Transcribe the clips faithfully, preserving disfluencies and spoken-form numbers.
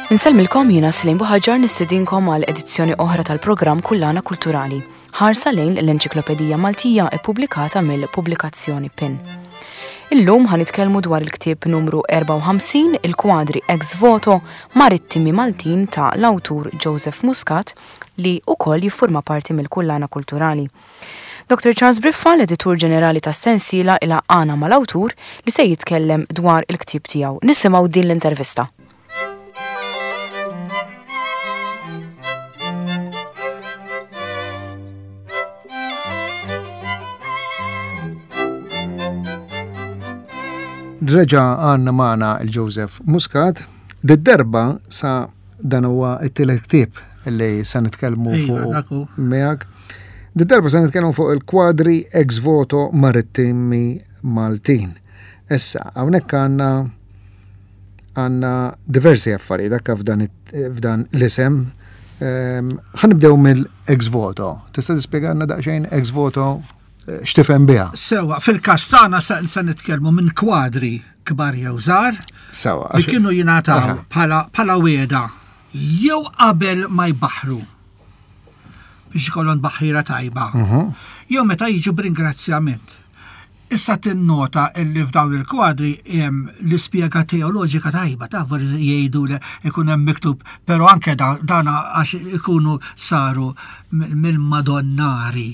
Insellmilkom jiena Slim Buħaġar nistedinkom għal edizzjoni oħra tal-programm Kullana Kulturali, ħarsa lejn l-Enċiklopedija Maltija ippubblikata mill-pubblikazzjoni PIN. Illum ħa nitkellmu dwar il-ktieb numru erbgħa u ħamsin, il-kwadri ex voto marittimi Maltin ta' l-awtur Joseph Muscat li wkoll jiffurma parti mill-Kullana Kulturali. Doktor Charles Briffa, l-editur ġenerali tas-sensiela, ilaqana mal-awtur li se jitkellem dwar il-ktieb tiegħu. Nisimgħu din l-intervista. Reġa għanna maħna il-Joseph Muscat. Did-darba sa dan huwa it-tielet ktieb li sa nitkellmu Iva, fuq dak hu. miegħek. Did-darba sa nitkellmu fuq il-kwadri ex voto marittimi Maltin. Issa, hawnhekk għandna għandna diversi affarijiet dakka f'dan it-, f'dan l-isem. Ehm, ħa nibdew mill-ex voto. Tista' tispjegalna daqsxejn ex voto x'tifhem biha? Sewa, fil-każ tagħna sa, sa nitkellmu minn kwadri kbar jew żgħar Sewa, li għax- kienu jingħataw Aha. bħala, bħala wieda jew qabel ma jbaħħru biex ikollhom baħħira tajba. Mhm. Jew meta jiġu b'ringrazzjament. Issa tinnota illi f'dawn il-kwadri hemm l-ispjega teoloġika tajba, ta' forsi jgħidu li ikun hemm miktub, però anke da-, dan għax ikunu saru m-, mill-Madonnari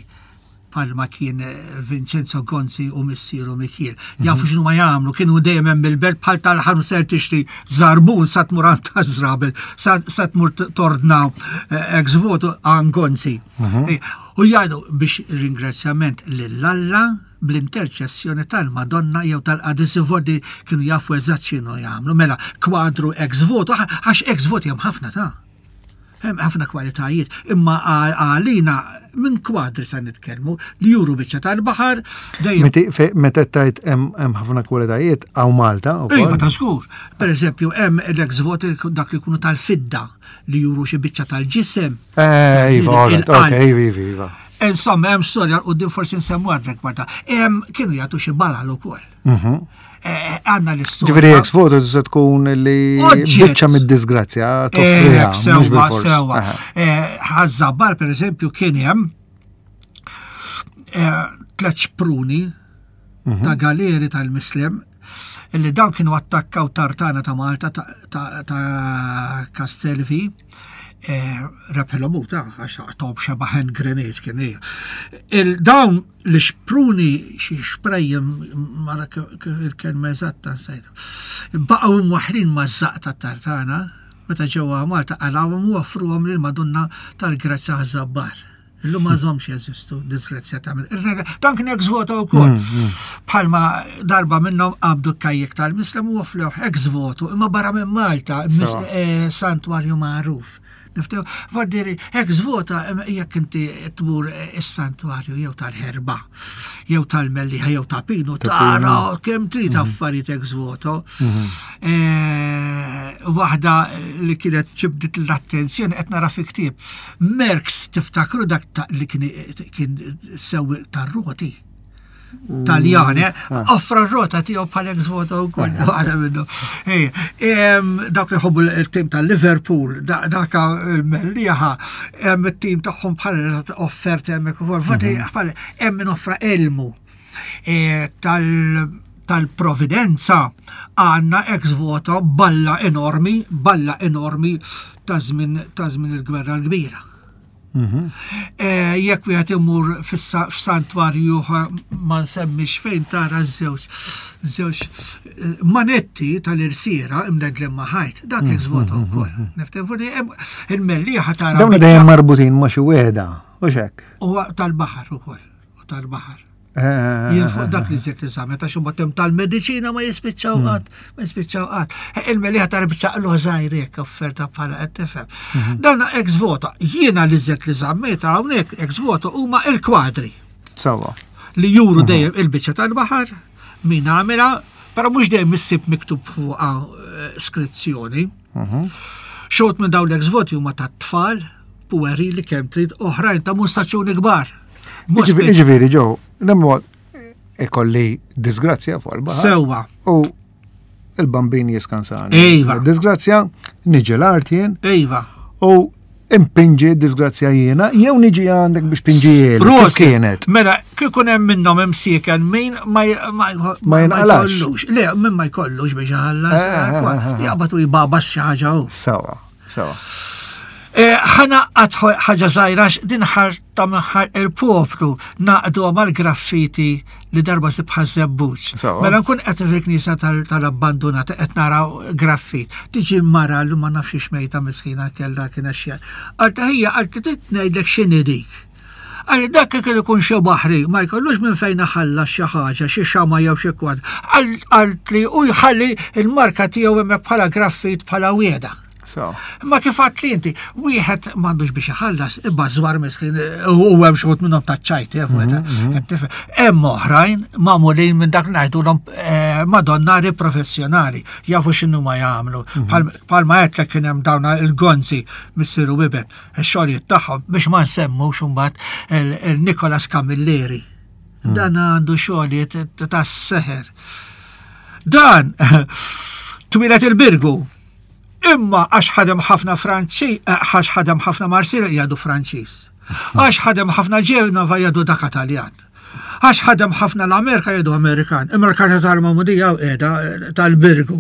palma kien Vincenzo Gonzi u missieru Mikiel. Jafu Mhm. x'inhu ma jagħmlu, kienu dejjem hemm il-belt bħal tal-ħanu ser tixtri żarbun sa tmur għand taż-żrabel, sa, sa tmur t-, tordna, eh, ex voto għand Gonzi. Mhm. Eh, u jgħidu biex ringrazzjament lil Alla bl-interċessjoni tal-Madonna jew tal-Qadis Vodi kienu jafu eżatt x'inhu jagħmlu. Mela kwadru ex voto, għax, għax ex voto hemm ħafna ta' hemm ħafna kwalitajiet, imma għal-, għalina minn kwadri sa nitkellmu li juru biċċa tal-baħar dejjem. Meti, fe-, meta tajt hemm, hemm ħafna kwalitajiet hawn Malta wkoll? Iva, ta' żgur. Per eżempju, hemm l-ex voto dak li jkunu tal-fidda li juru xi biċċa tal-ġisem. Eh, iva, Il- all right, il-qalb. ok, iva, iva, iva. Insomma, hemm storja l-qudiem forsi nsemmu għadrek barda. Hemm kienu jagħtu xi balal ukoll. Mhm. Eh, għandna l-istorja. Ġifieri ex voto tista' tkun li Oġġett. biċċa mid-disgrazzja toffriha, Eh, mhux sewwa, bil-fors. sewwa. Aha. Eh, Ħaż-Żabbar, per eżempju, kien hemm, eh, tliet xpruni Mhm. ta' galeri tal-Mislem illi dawn kienu attakkaw tartana ta' Malta ta', ta, ta' Castelvi. Eh, rebħilhom hu ta' għax tawb xeba hand grenades kien hija. Il-dawn li xpruni xi xprejjem mara k-, k-, il-kelma eżatta nsejta. Baqgħu mwaħħlin maż-żaq tat-tartana meta ġewwa Malta qalawhom u offruhom lil Madonna tal-Grazzja Ħaż-Żabbar. Illum ma żomx jeżistu, disgrazzjatament. Ir-rega, dan kien ex voto wkoll. Mm, mm. Bħalma darba minnhom qabdu kajjek tal-Mislem u offrewh ex voto, imma barra minn Malta, mis- Sewa. eh, santwarju magħruf. Niftew, vardiri, ex voto, em, jekk inti tmur is-santwarju jew tal-Ħerba, jew tal-Mellieħa, jew ta' Pinu, Ta' Pinu. tara kemm trid Mhm. affarijiet ex voto. Mhm. Eh, waħda li kienet ġibdit l-attenzjoni qed nara fi ktieb. Merckx tiftakru dak ta' li kien, kien sewwi tar-roti. Taljan, eh? Ah. Offra r-rota tiegħu bħal ex voto wkoll, waħda minnu. Ej, em, dawk li jħobbu il-tim tal-Liverpool, da-, daka il-Mellieħa, hemm it-tim tagħhom bħal offerta hemmhekk ukoll. Fatti, Mhm. bħal hemm min offra elmu. Eh, tal-, tal-Providenza għandna ex voto balla enormi, balla enormi ta' żmien, ta' żmien il-Gwerra l-Kbira. Mhm. Eh, jekk wieħed imur fis-sa-, f'santwarju ieħor ma nsemmix fejn tara żewġ, żewġ, eh, manetti tal-irsiera imdeglim ma' ħajt, dak Mhm, ex voto mhm, wkoll. mhm. Niftem fuq li hemm il-Mellieħa tara Dawn biċċa dejjem marbutin ma' xi wieħda, u x'hekk? Huwa tal-baħar ukoll, u tal-baħar. Eh, Jien fuq dak li żied li żammet, għax imbagħad hemm tal-mediċina ma jispiċċaw Hmm. qatt, ma jispiċċaw qatt. Eh, il-Mellieħa tara biċċa qluħ żgħir hekk offerta bħala qed tifhem. Mhm. Dan ex voto, jiena li żied li żammet hawnhekk ex voto huma il-kwadri. Sawa. Li juru Mhm. dejjem il-biċċa tal-baħar, min għamilha, però mhux dejjem issib miktub fuqha, eh, skrizzjoni. Mhm. Xogħod minn dawn l-ex voti huma tat-tfal, puerili kemm trid, oħrajn ta' mustaċċuni kbar. Mhux Jiġifieri, biex- jiġifieri, ġew, nemmu ikolli disgrazzja fuq il-baħar. Sewwa. U il-bambin jiskansani. Iva. Disgrazzja, Niġi l-art jien Iva. u impinġi disgrazzja jiena, jew niġi għandek biex pinġijieli. Kif Prosit. kienet? Mela, kif hemm minnhom imsieken min ma j- ma Ma jinqalax. jkollux. Le, min ma jkollux biex iħallas. Eh, eh, eh, eh. Jaqbad u jbabas xi ħaġa hu. Sawa, sawa. Eh, ħana għad ħaġa żgħira din ħarta minħar il-poplu naqdu mal-graffiti li darba sibħa żebbuġ. Sawa. Mela nkun qed fil-knisja tal- tal-abbandonata qed naraw graffit. Tiġi mara li ma nafx x'mejta miskina kellha kien xi. Qalta hija qalt trid ngħidlek x'inhi dik. Għalli dak kien ikun xi baħri, ma jkollux minn fejn iħallas xi ħaġa, xi xama jew xi kwad. Qalt li u jħalli il-marka tiegħu hemmhekk bħala graffit bħala wieda. Sawa. Ma kif għat li inti, wieħed m'għandux biex iħallas, imma żwar miskin, u hemm xi minnhom taċ-ċajt, eh, qed tifhem. Hemm oħrajn magħmulin minn dak li ngħidulhom eh, madonnari professjonali, jafu x'inhu ma jagħmlu. Bħalma għedtlek kien hemm dawn il-gonzi missier u iben, ix-xogħlijiet tagħhom biex ma nsemmux imbagħad il-Nikolas Camilleri. Dan għandu xogħlijiet tas-seħer. Dan twieled il-Birgu. Imma għax ħadem ħafna Franċi, għax ħadem ħafna Marsilja jgħidu Franċiż. Għax ħadem ħafna Ġenova jgħidu dak Italjan. Għax ħadem ħafna l-Amerika jgħidu Amerikan. Imma l-karta tal-Magħmudija u qiegħda tal-Birgu.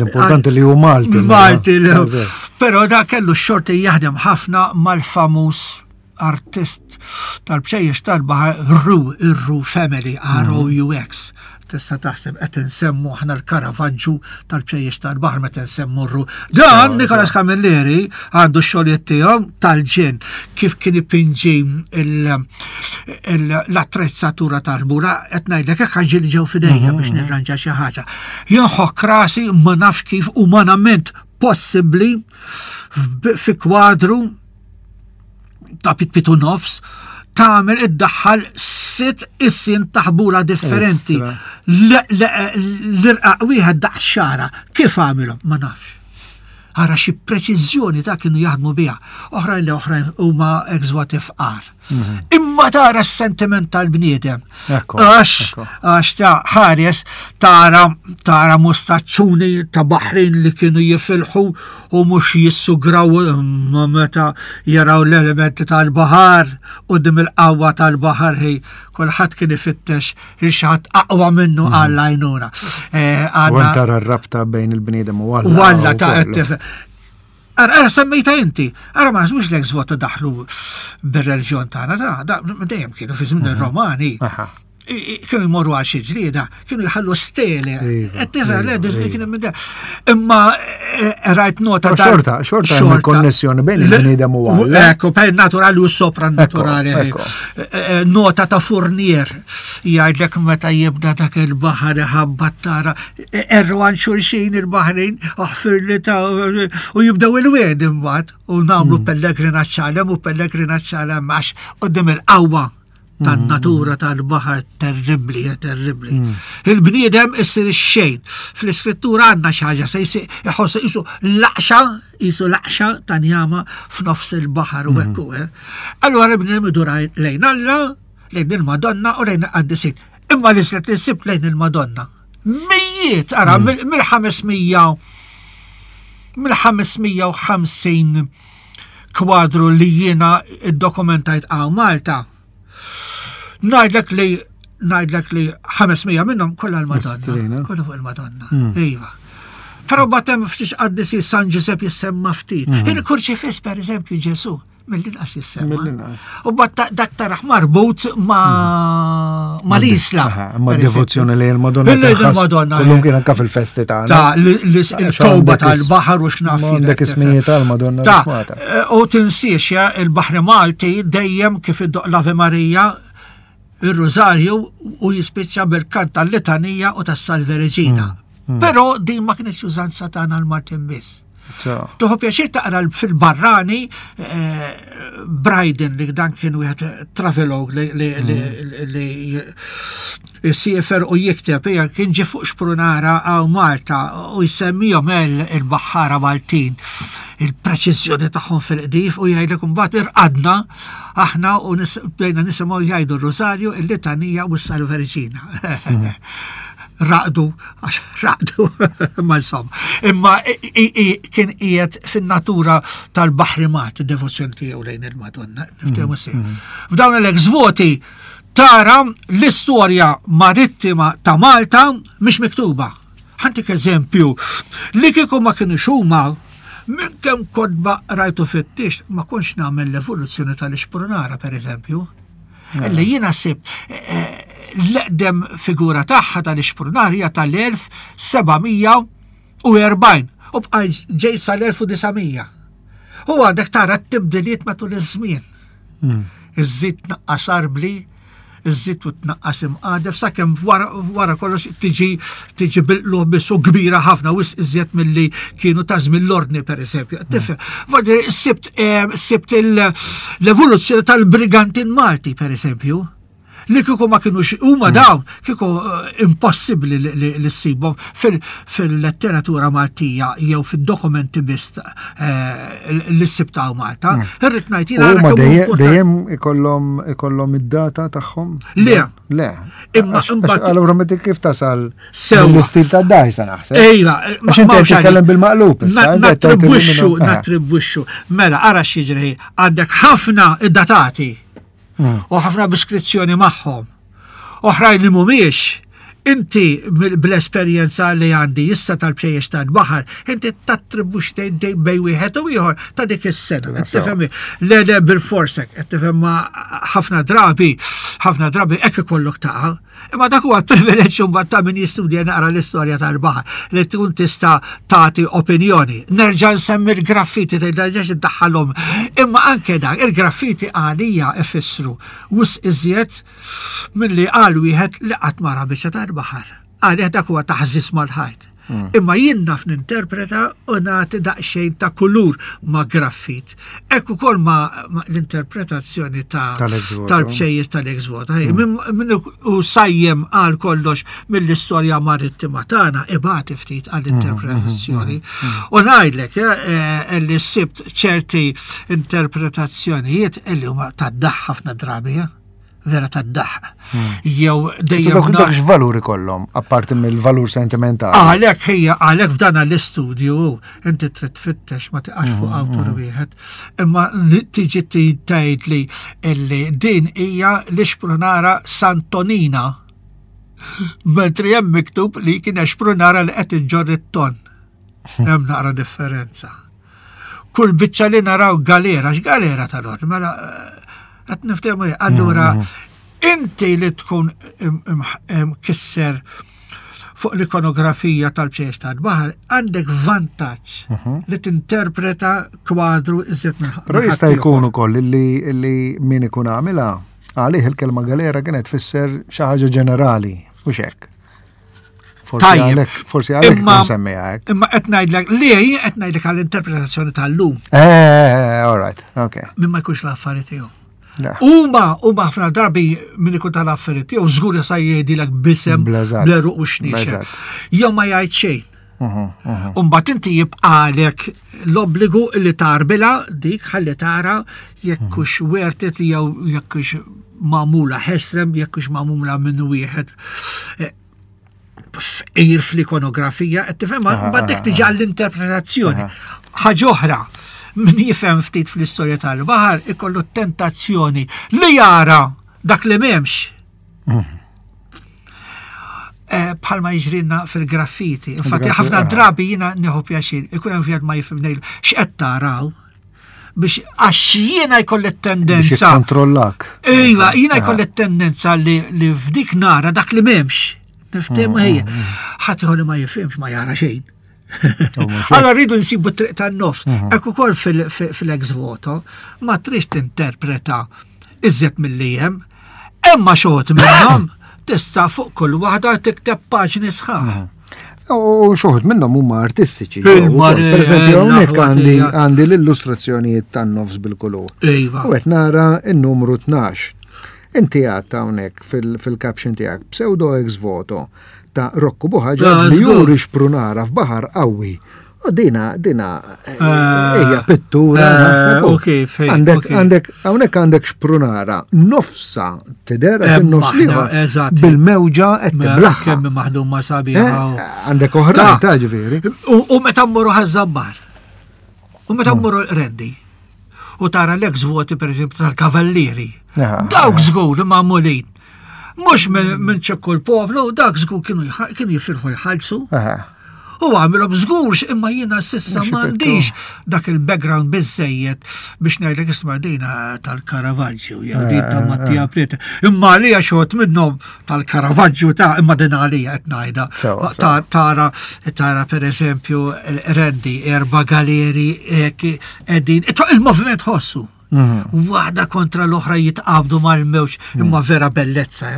L-importanti li hu Malti. Malti. li- Eżatt. Però da kellu x-xorti jaħdem ħafna mal-famuż artist tal-bċejjex tal-baħar Roux, ir-Roux Family, R O U X. Tista' taħseb qed insemmu aħna l-Caravaggio tal-bċejjex tal-baħar meta nsemmu r-Roux. Dan Nikolas Camilleri għandu x-xogħlijiet tiegħu tal-ġen kif kien ipinġi il- il- l-attrezzatura tal-bura qed ngħidlek hekk ħaġi li ġew f'idejja biex nirranġa xi ħaġa. Jinħok rasi ma nafx kif umanament possibbli f'b- fi kwadru ta' pied pied u nofs tagħmel iddaħħal sitt issin taħbula differenti. Istra. L-irqaq wieħed daqs xara. Kif għamilhom? Ma nafx. Ara xi preċiżjoni ta' kienu jaħdmu biha. Oħrajn li oħrajn huma ex-voti fqar. Imma tara s-sentiment tal-bniedem. Ekku, Għax, ekku. għax ta' ħares tara tara mustaċċuni ta' baħrin li kienu jifilħu u mhux jissugraw imma meta jaraw l-elementi tal-baħar u dim il-qawwa tal-baħar hi kulħadd kien ifittex il xi ħadd aqwa minnu għall għajnuna. Eh, U għandna- tara r-rabta bejn il-bniedem u Alla. U Alla ta' u kollu. qed Ara, ara semmejta inti, ara ma naħsbux l-ex voto daħlu bir-reliġjon tagħna, da, da, dejjem kienu fi żmien ir-Romani. Aha. I- i- Kienu jmorru għal xi ġlieda, kienu jħallu stele. Iva, Qed tifhem, le, iva, dis- iva. kienu minn da- Imma eh, rajt nota Però dar- xorta- xorta hemm il-konnessjoni bejn il-bniedem u Alla. Ekku, bejn naturali u soprannaturali. Ekku, Eh, eh, Nota ta' Fournier jgħidlek meta jibda dak il-baħar iħabbat tara erru għan xulxin il-baħrin aħfir li ta' u jibdew il-wed imbagħad u nagħmlu Hmm. pellegrinaġġ għalem u pellegrinaġġ għalem għax qudiem il-qawwa tan-natura tal-baħar terribli, eh, terribli. Il-bniedem issir ix-xejn. Fl-iskrittura għandna xi ħaġa se jsir iħoss isu laqxa, isu laqxa ta' njama f'nofs il-baħar u hekk hu, eh. Allura il-bniedem idur lejn Alla, lejn il-Madonna u lejn il-qaddisin. Imma li se tinsib lejn il-Madonna. Mijiet, ara, mill-ħames mija mill-ħames mija u ħamsin kwadru li jiena iddokumentajt għaw Malta. Ngħidlek li ngħidlek li ħames mija minnhom kollha l-Madonna. Istrina. Kollha fuq il-Madonna. Iva. Però batem ftit qaddisi San Giuseppe jissemma ftit. Il-kurċifiss per eżempju Ġesu mill-inqas jissemma. Mill-inqas. U bat dak taraħ marbut ma ma l-Isla. Aha, Ma per devozzjoni lejn il-Madonna. Lejn tinħass il-Madonna, Kullum eh. kien anka fil-festi tagħna. Ta' l- l- il-towba tal-baħar u x'naf Ma jien Għandek qed ismijiet tal-Madonna Ta' Rishmata. eh, u tinsiex ja, il-Baħri Malti dejjem kif iddoq l-Ave Marija il-Rożarju u jispiċċa bil-kant tal-Litanija u tas-Salve Regina. Mm, Però din ma kienx użanza tagħna l-Maltin biss. So, Tuħu pjaċir taqra fil-barrani eh, Bryden li dan kien wieħed travelog li li li li jissiefer u jikteb hija kien ġie fuq xprunara għaw Malta u jsemmihom il- il-baħħara Maltin il-preċiżjoni tagħhom fil-qdif u jgħidlek imbagħad irqadna aħna u nis- bdejna nisimgħu jgħidu r-Rożarju, il-Litanija u s-Salve Regina. raqdu, għax raqdu, ma insomma. Imma kien qiegħed fin-natura tal-baħrimat, id-devozzjoni tiegħu lejn il-Madonna. Niftehmu sew. F'dawn l-ex voti tara l-istorja marittima ta' Malta mhix miktuba. Ħa ntik eżempju, li kieku ma kienu huma minn kemm kotba rajtu fittix, ma kontx nagħmel l-evoluzzjoni tal-ixprunara, per eżempju. Illi jiena sib l-eqdem figura tagħha tal-ixprunara hija tal-elf seba' mija u erbgħin u bqa' ġej sal-elf u disa' mija. U għandek tara t-tibdiliet matul iż-żmien. Iżżid tnaqqas arbli, iżżid u tnaqqas imqadef, sakemm wara, wara kollox tiġi tiġi bil-qlugħ biss u kbira ħafna, wisq iżjed milli kienu ta' żmien l-ordni, per eżempju. Tifhem, voldiri, sibt eh, sibt il- l-evoluzzjoni tal-brigantin Malti, per eżempju, li kieku ma kienux huma dawn, kieku eh, impossibbli li- li li ssibhom fil- fil-letteratura Maltija jew fid-dokumenti biss eh, li ssibtaw Malta. Irrid ngħid jiena U ara ma kemm hu dejjem importanti. dejjem ikollhom ikollhom id-data tagħhom? Le. Le. Imma Għax- imbagħad- għax Allura meta kif tasal Sewwa. l-istil ta' dajsa naħseb. Ejja, Għax inti qed titkellem bil-maqlub issa, Na- inti qed tgħid li Nattribwixxu, minnu- eh. nattribwixxu. Mela, ara x'jiġri, għandek ħafna id-datati u ħafna b'iskrizzjoni magħhom. Oħrajn li mhumiex, inti mill- bl-esperjenza li għandi issa tal-bċejjex tal-baħar, inti tattribwixxi dej bej wieħed u ieħor ta' dik is-sena. Qed tifhem? Le le bil-forsek, qed tifhem, ma ħafna drabi, ħafna drabi hekk ikollok taqa'. Imma dak huwa privileġġ mbagħad ta' min jistudja naqra l-istorja tal-baħar li tkun tista' tagħti opinjoni. Nerġa' nsemmi l-graffiti, tgħid iddaħħalhom. Imma anke dak il-graffiti għalija ifissru wisq iżjed milli qal wieħed li qatt ma ra biċċa tal-baħar. Għalih dak huwa taħżis mal-ħajt. Imma jien naf ninterpreta u nagħti daqsxejn ta' kulur ma' graffit. Hekk ukoll ma' ma' l-interpretazzjoni ta' Tal-ex voto. tal-bċejjex tal-ex voto. Ej, Min min u sajjem għal kollox mill-istorja marittima tagħna ibati ftit għall-interpretazzjoni. U ngħidlek eh, eh, li sibt ċerti interpretazzjonijiet illi huma tad-daħ ħafna drabi, eh? Vera tad-daħ. Jew Issa dejjem Dak dak nar- x'valur ikollhom, apparti mill-valur sentimentali? Għalek hija, għalek f'dan l-istudju inti trid tfittex, ma tiqax fuq awtur wieħed. Imma li tiġi tgħid li illi din hija l-ixprunara Santonina. Mentri hemm miktub li kien xprunara li qed iġġorr it-ton. Hemm naqra differenza. Kull biċċa li naraw galera, x'galera tal-or, mela eh, qed niftehmu. Allura inti li tkun im- im- imkisser fuq l-ikonografija tal-ċejs tal-baħar, għandek vantaġġ li tinterpreta kwadru iżjed minn Però minn jista' ħaddieħor. jkun ukoll illi illi min ikun għamilha, għalih il-kelma galera kienet tfisser xi ħaġa ġenerali, u hekk. Forsi Tajjeb. għalhekk, forsi għalhekk Imma- ikun semmiha hekk. Imma qed ngħidlek li qed ngħidlek għall-interpretazzjoni tal-lum Eh, all right, okay. min ma jkunx l-affari tiegħu. Le. Huma huma ħafna drabi min ikun tal-affari tiegħu żgur sa jgħidilek bisem Bleżat. bleru u xniex. Bleżat. Jew ma jgħid xejn. Mhm, mhm. Umbat inti jibqalek l-obbligu li tarbila dik ħalli tara jekk hux worth it jew jekk hux magħmula ħesrem, jekk hux magħmula minn wieħed eh, fqir fl-ikonografija, qed tifhem, Aha, mbagħad dik aha, tiġi għall-interpretazzjoni. Ħaġa oħra, min jifhem ftit fl-istorja tal-baħar ikollu tentazzjoni li jara dak li m'hemmx. Eh, bħalma jiġrinna fil-graffiti. Infatti, Il-graffiti, ħafna aha. drabi jiena nieħu pjaċir, ikun hemm wieħed ma jifhem, ngħidlu, x'qed taraw? Biex għax jiena jkolli Biex tendenza. jikkontrollak. Iva, jiena Aha. jkolli tendenza li, li f'dik nara dak li m'hemmx. Niftehmu ħejja. Ħadd ieħor li ma jifhimx ma jara xejn. U mhux hekk. Allora rridu nsibu triq tan-nofs. Hekk ukoll fil- fil- fil-ex voto ma trix tinterpreta iżjed milli hemm. Imma xogħod minnhom tista' fuq kull waħda tikteb paġni sħaħ. U xi wħud minnhom huma artistiċi. Il-mare- Per eżempju, hawnhekk l-aħwa għandi tiegħek. għandi l-illustrazzjonijiet tan-nofs bil-kulur. Iva. U qed nara n-numru tnax. Inti għadt hawnhekk fil- fil-caption tiegħek pseudo ex voto ta' Rocco Buħaġar Ah, li żgur. juri xprunara f'baħar qawwi. U dina, dina, eh, hija pittura. Eh, u kif, Għandek, għandek, hawnhekk għandek xprunara, nofsa tidher għax in-nofs l-ieħor bil-mewġa qed tiblaħ. Kemm maħdum ma sabiħa. Eh, għandek oħra ta' ġifieri. U meta mmorru Ħaż-Żabbar. U meta mmorru l-Qrendi. U tara l-ex voti pereżempju tal-Kavallieri. Dawk żgur magħmulin. Mhux minn ċekku l-poplu, dak żgur kienu jifirħu jħallsu. U għamilhom żgurx, imma jiena sissa m'għandix dak il-background biżejjed biex ngħidlek isma' dina tal-Caravaggio jew din ta' Mattia Preti. Imma għalija xogħod minnhom tal-Caravaggio ta' imma din għalija qed ngħidha. Tara tara pereżempju Rendi erba' galeri qegħdin il-moviment ħossu. Waħda kontra l-oħra jitqabdu mal-mewġ, imma vera bellezza.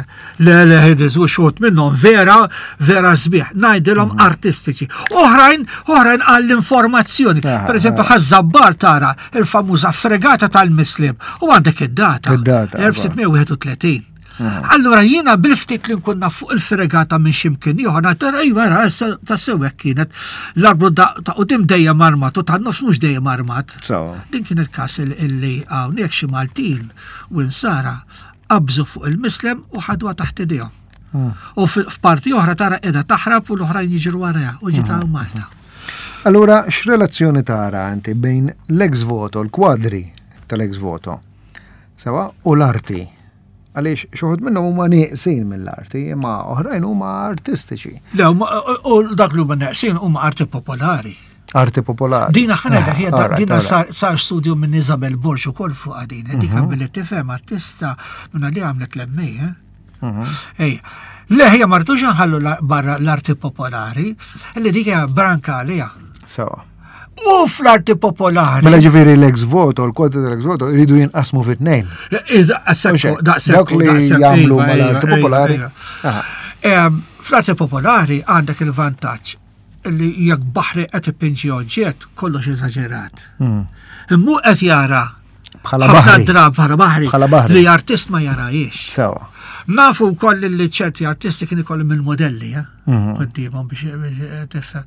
Le, le, ħediz, u xogħod minnhom vera, vera sbieħ. Ngħidilhom artistiċi. Oħrajn, oħrajn għall-informazzjoni. Per eżempju, Ħaż-Żabbar tara il-famuża fregata tal-Muslim u għandek id-data. Id-data, elf sitt mija wieħed u tletin. Allura jiena bil-ftit li nkun naf fuq il-fregata minn x'imkien ieħor ngħid, ejwa, ra, issa tassew hekk kienet. L-arblu ta' quddiem dejjem armat u tan-nofs mhux dejjem armat. Sawa. Din kien il-każ illi hawnhekk xi Maltin u Insara qabżu fuq il-Mislem u ħadwa taħt idejhom. U f'parti oħra tara qiegħda taħrab u l-oħrajn jiġru warajha u ġiet hawn Malta. Allura x'relazzjoni tara inti bejn l-ex voto, l-kwadri tal-ex voto, sewa, u l-arti? Għaliex xi wħud minnhom huma nieqsin mill-arti, imma oħrajn huma artistiċi. Le, u dak li huma neqsin huma arti popolari. Arti popolari. Dina ħana Ah, hija alright, dina alright. sar, sar studju minn Isabel Borg ukoll fuq din, dik Mhm. billi tifhem artista minna li għamlet l-M A, eh? Mhm. Ej, le ħija martux nħallu la-, barra l-arti popolari, li dik hija branka għalija. Sewa. U fl-arti popolari. Mela ġifieri l-ex voto, l-kwadri tal-ex voto, jridu jinqasmu fi tnejn. Daqshekk, daqshekk, Dawk li daqshekk, jagħmlu iva, mal-arti iva, popolari. iva. Aha. Em, Fl-arti popolari għandek il-vantaġġ li jekk baħri qed ipinġi oġġett kollox eżaġerat. Hmm. Immu qed jara Bħala ħafna baħri. drab bħala baħri Bħala baħri. li artist ma jarajiex. Sewa. Nafu wkoll li ċerti artisti kien ikollhom il-modelli, eh? Mhm. Quddiemhom biex biex tifhem.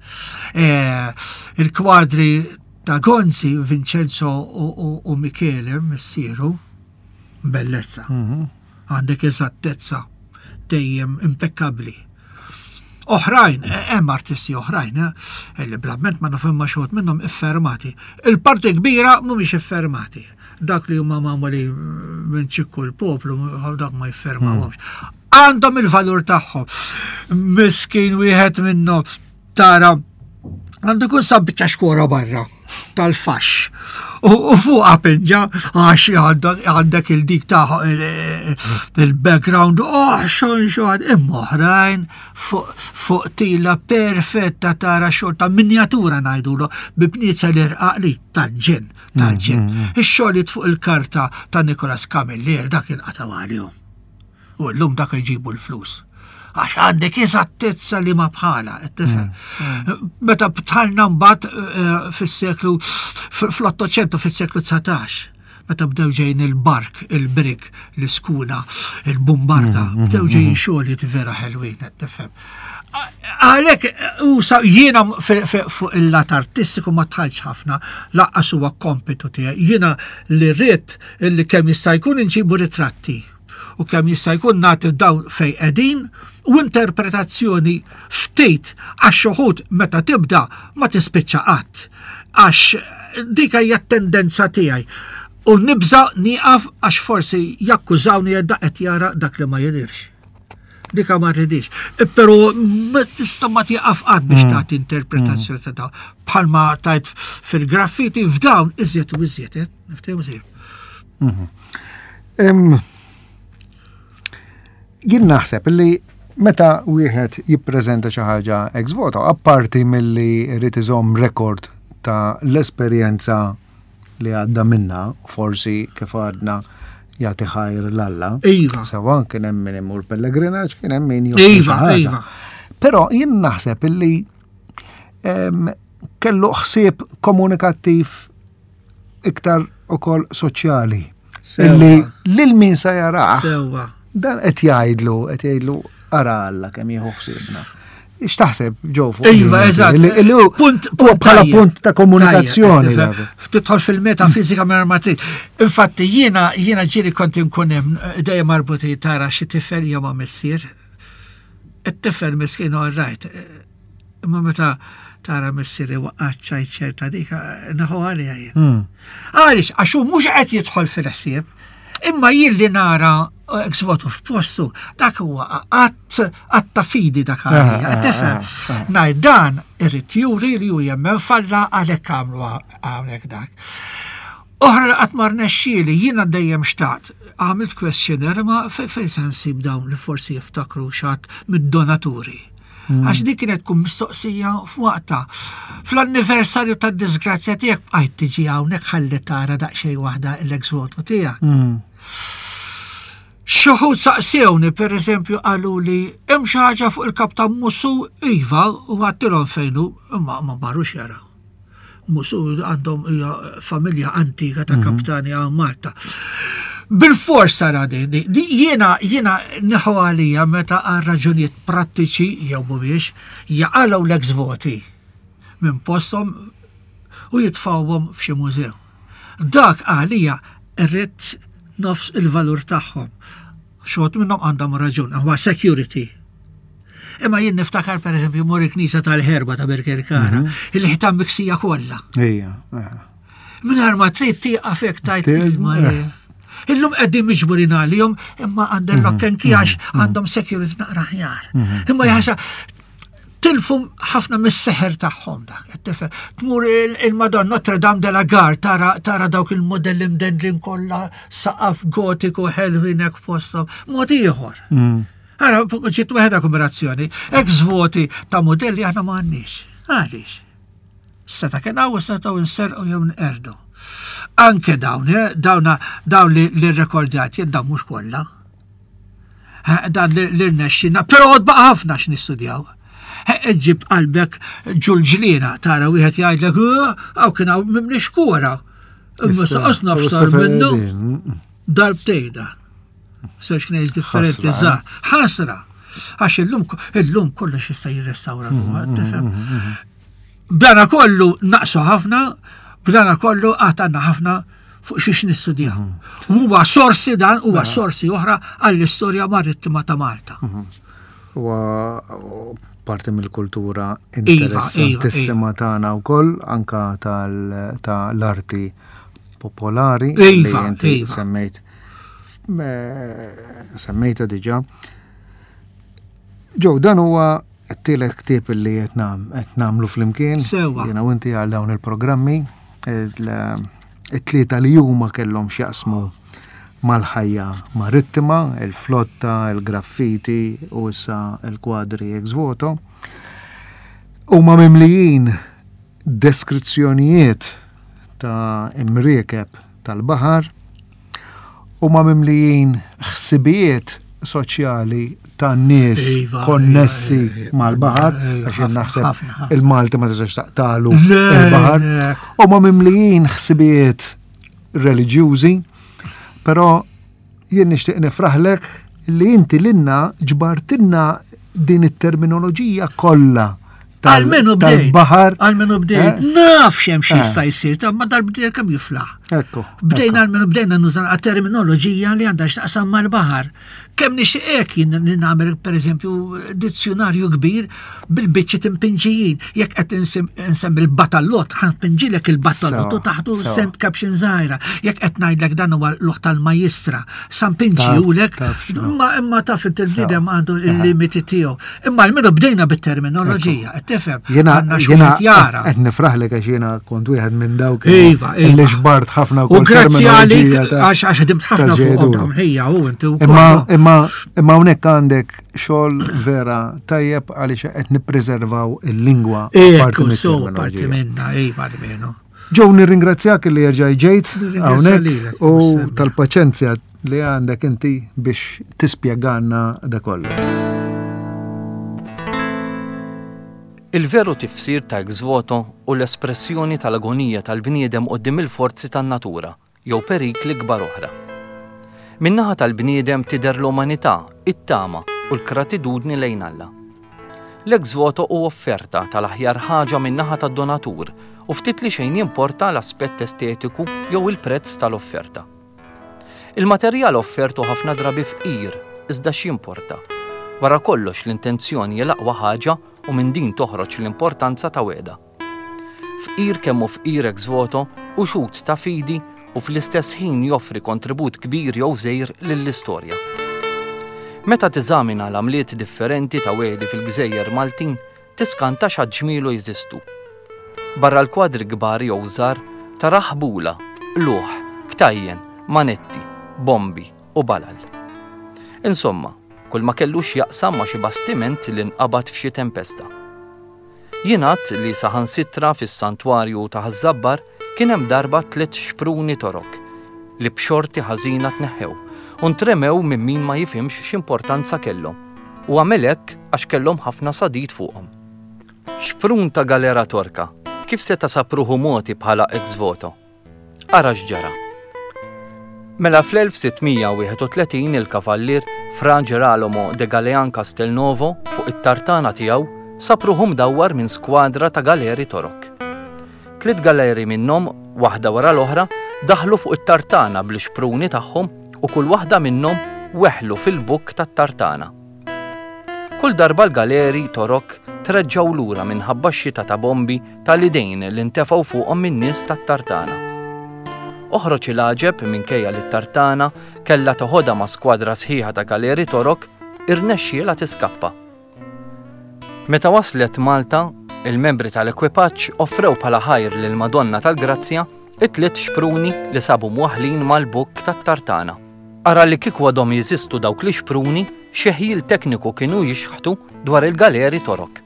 Eh, il-kwadri ta' Gonzi, Vincenzo u, u, u Michele missieru, bellezza. Mhm. Għandek eżattezza dejjem impeccabli. Oħrajn, eh, hemm artisti oħrajn, eh, li blamment ma nafhom ma xogħod minnhom iffermati. Il-parti kbira mhumiex iffermati. Dak li huma magħmuli minn ċikku l-poplu, dak ma jiffermawhomx. Għandhom il-valur tagħhom. Miskin wieħed minnhom tara għandu jkun sab biċċa xkora barra tal-fax. U, u fuq pinġa għax għandek, għandek il-dik ta' il-background, oh, xon xon, imma oħrajn fuq fuq tila perfetta tara xogħol ta' minjatura ngħidulu bi bnieza l-irqaq li tal-ġen, tal-ġen. Ix-xogħlijiet fuq il-karta ta' Nicolas Camilleri dak inqataw għalihom. U llum dak jġibu l-flus. Għax għandek eżattezza li ma bħala, qed tifhem. Meta btħalna mbagħad eh, fis-seklu fl-Ottocento fis-seklu dsatax, meta bdew ġejn il-bark, il-brig, l-iskuna, il-bombarda, bdew ġejn xogħlijiet vera ħelwin, qed tifhem. Għalhekk, u sa jiena fi- fi- fuq il-lat artistiku ma tħallx ħafna, laqqas huwa kompitu tiegħi. Jiena li rrid li kemm jista' jkun inġibu ritratti u kemm jista' jkun nagħti dawn fejn qegħdin u interpretazzjoni ftit għax uħud meta tibda ma tispiċċa qatt. Għax dik hija t-tendenza tiegħi. U nibża nieqaf għax forsi jakkużawni da qed jara dak li ma jidhirx. Dika ma rridix. Però ma tista' ma tieqaf qatt biex tagħti interpretazzjoni ta' dawn. Bħalma tajt fil-graffiti f'dawn iżjed u iżjed, eh? Niftehmu iżjed. Em, Jien naħseb li meta wieħed jippreżenta xi ħaġa ex voto, apparti milli jrid iżomm rekord ta' l-esperjenza li għadda minna, u forsi kif għadna jagħti ħajr l-Alla. Iva. Sawa kien hemm min imur pellegrinaġġ, kien hemm min joffri Iva, xi ħaġa. iva. Però jien naħseb illi em, kellu ħsieb komunikattiv iktar ukoll soċjali. Sewwa. Illi lil min sa jarah Sewwa. dan qed jgħidlu, qed jgħidlu ara Alla kemm jieħu ħsiebna. X'taħseb ġew fuq? Iva, eżatt. Punt bħala punt ta' komunikazzjoni. Tidħol fil-metafizika minn ma trid. Infatti jiena jiena ġieli kont inkun hemm dejjem marbuti tara xi tifel jew ma' missier. It-tifel miskin all right. Imma meta tara missieri waqqaċ ċerta dik naħu għalija jien. Hmm. Għaliex, għax hu mhux qed jidħol fil-ħsieb, imma jien li nara ex voto f'postu, dak huwa att att ta' fidi dak għalija. Ah, ah, Tifhem? ah, ah. Ngħid dan irid juri li hu jemmen falla għalhekk għamlu hawnhekk dak. Oħra li qatt ma rnexxieli, jiena dejjem xtaqt, għamilt questionnaire ma fe- fejn se nsib dawn li forsi jiftakru xat mid-donaturi. Għax dik kienet tkun mistoqsija f'waqta. Fl-anniversarju tad-disgrazzja tiegħek bqajt tiġi hawnhekk ħalli tara daqsxejn waħda l-ex voto tiegħek. Hmm. Xi wħud saqsewni, per eżempju, qalu li hemm xi ħaġa fuq il-kaptan Mussu, iva, u għattilhom fejn hu, imma ma marrux jaraw. Mussu għandhom hija familja antika ta' kaptani għal Malta. Bil-fors sara din, di- di- jiena jiena neħu għalija meta għal raġunijiet prattiċi jew mhumiex jaqalgħu l-ex voti minn posthom u jitfawhom f'xi mużew. Dak għalija irrid nofs il-valur tagħhom. Xogħod minnhom għandhom raġun, huwa security. Imma jien niftakar pereżempju mor il-Knisja tal-Ħerba ta' Birkirkara, il-ħitan miksija kollha. Ejja. eh. Mingħajr ma trid tieqaf hekk tajt Til- il-Marija. Illum qegħdin miġburin għalihom imma għandhom lock and key għax għandhom security naqra aħjar. Imma jaħsa tilfu ħafna mis-seħer tagħhom dak. qed tifhem. Tmur il- il-Madonna Notre Dame de la Gare tara tara dawk il-modelli mdendlin kollha saqaf gotiku ħelwin hekk fosthom. Mod ieħor. Hmm. Ara, ġiet waħda kombinazzjoni. Ex voti ta' modelli aħna ma għandniex. Għaliex? Seta kien hawn setgħu nserqu jew nqerdu. Anke dawn, eh, dawna dawn li li rrekordjat jien dawn mhux kollha. Eh, Dan li li rnexxina, però għad baqa' ħafna x'nistudjaw. Eh, Ġib qalbek ġulġlina tara wieħed jgħidlek, "Eh, hawn kien hawn mimli xkura. Imma saqas nafsar minnu Mm, darbtejn da. Żewġ knejs differenti Ħasra, żgħar. Ħasra. Għax illum illum kollox jista' jirrestawra ruħu, tifhem. B'dana kollu naqsu ħafna, b'dana kollu għad għandna ħafna fuq xiex nistudjaw. Huwa sorsi dan, huwa sorsi oħra għall-istorja marittima ta' Malta. Huwa parti mill-kultura Iva, iva, interessantissima tagħna wkoll anka tal- tal-arti popolari li Iva, inti iva. semmejt eh, semmejta diġà. Ġew, dan huwa t-tielet ktieb li qed nam- qed nagħmlu flimkien. Sewwa. Jiena u inti għal dawn il-programmi il- it-tlieta li huma kellhom x'jaqsmu mal-ħajja marittima, il-flotta, il-graffiti u issa il-kwadri ex voto. Huma mimlijin deskrizzjonijiet ta' imriekeb tal-baħar, huma mimlijin ħsibijiet soċjali ta' nies Iva, konnessi iva, iva, mal-baħar, iva, għax jien ħafna, naħseb ħafna, ħafna. il-Malti ma tistax taqtalu Le, il-baħar. le. Huma mimlijin ħsibijiet reliġjużi, però jien nixtieq nifraħlek li inti lilna ġbartilna din it-terminoloġija kollha tal- Almenu bdejt. tal-baħar. Almenu bdejt. Eh? Naf xem xi Eh. jista' jsir, ta' ma dal-bdejt kemm jiflaħ. Ekku. Bdejna almenu bdejna nuża terminoloġija li għandha x'taqsam mal-baħar. Kemm nixtieq hekk jien li nagħmel pereżempju dizzjonarju kbir bil-biċċi timpinġijin. Jekk qed insim- insemmi l-batallot, ħanpinġilek il-batallot u Sewa, taħtu sewa. sent caption żgħira. Jekk qed ngħidlek dan huwa l-loħ tal-majistra, sampinġiulek, Taf- taf x'inhu. imma imma taf inti l-bniedem għandu Aha. il-limiti tiegħu. Imma almenu bdejna bit-terminoloġija, qed tifhem. Jena, Għandna jena, x'wieħed jara. qed nifraħlek għax jena kont wieħed minn dawk Iva, iva. li xbart ħafna U wkoll grazzi għalik, terminoloġija ta' għax għax ħdimt ħafna ta' fuq ġedu. dawn ħija u inti wkoll. Imma imma imma hawnhekk għandek xogħol vera tajjeb għaliex qed nippreservaw il-lingwa parti Ekku, so parti mit-terminoloġija. minna, iva almenu. Ġew nirringrazzjak li jerġa' ġejt Nirringrazzja hawnhekk lilek, u Marcel. tal-paċenzja li għandek inti biex tispjegalna da kollu. Il-veru tifsir ta' ex voto u l-espressjoni tal-agonija tal-bniedem qoddim il-forzi tan-natura jew perikli kbar oħra. Min-naħa tal-bniedem tidher l-umanità, it-tama u l-gratitudni lejn Alla. L-ex voto hu offerta tal-aħjar ħaġa min-naħa tad-donatur u ftit li xejn jimporta l-aspett estetiku jew il-prezz tal-offerta. Il-materjal offert hu ħafna drabi fqir, iżda x'jimporta? Wara kollox l-intenzjoni hi l-aqwa ħaġa u minn din toħroġ l-importanza ta' wegħda. Fqir kemm hu fqir ex voto hu xhud ta' fidi u fl-istess ħin joffri kontribut kbir jew żgħir lill-istorja. Meta teżamina l-għamliet differenti ta' wegħdi fil-gżejjer Maltin, tiskanta x'għadd ġmielu jeżistu. Barra l-kwadri kbar jew żgħar, tara ħbula, qlugħ, ktajjen, manetti, bombi u balal. Insomma, kull ma kellu x'jaqsam ma' xi bastiment li nqabad f'xi tempesta. Jingħad li saħansitra fis-santwarju ta' Ħaż-Żabbar kien hemm darba tliet xpruni Torok li b'xorti ħażina tneħħew u ntremew minn min ma jifhimx x'importanza kellhom u għamel hekk għax kellhom ħafna sadid fuqhom. Xprun ta' galera Torka kif seta' sab ruħu mogħti bħala ex voto? Ara x'ġara. Mela fl-elf sitt mija wieħed u tletin il-kavallier Fra Geralomo de Galean Castelnovo fuq it-tartana tiegħu sab ruħu mdawwar minn skwadra ta' galeri Torok. Tliet galeri minnhom, waħda wara l-oħra, daħlu fuq it-tartana bl-ixpruni tagħhom u kull waħda minnhom weħlu fil-bukk tat-tartana. Kull darba l-galeri Torok treġġaw lura minħabba x-xita ta' bombi tal-idejn li ntefgħu fuqhom min-nies tat-tartana. Oħroġ il-għaġeb minkejja li t-tartana kellha toħodha ma' skwadra sħiħa ta' galeri Torok, irnexxielha tiskappa. Meta waslet Malta, il-membri tal-ekwipaġġ offrew bħala ħajr lil Madonna tal-Grazzja it-tliet xpruni li sabu mwaħħlin mal-bukk tat-tartana. Ara li kieku għadhom jeżistu dawk li xpruni, xi ħjiel tekniku kienu jixħtu dwar il-galeri Torok.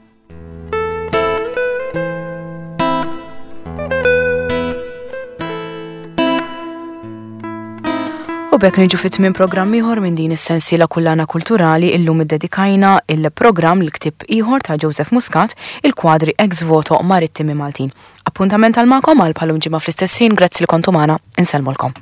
U b'hekk niġu fit tmiem programm ieħor minn din is-sensiela Kullana Kulturali. Illum iddedikajna il-programm l-ktieb ieħor ta' Joseph Muscat, il-kwadri ex voto marittimi Maltin. Appuntament għal magħkom għal bħalum ġimgħa fl-istess ħin, grazzi li kontu magħna, insellmulkom.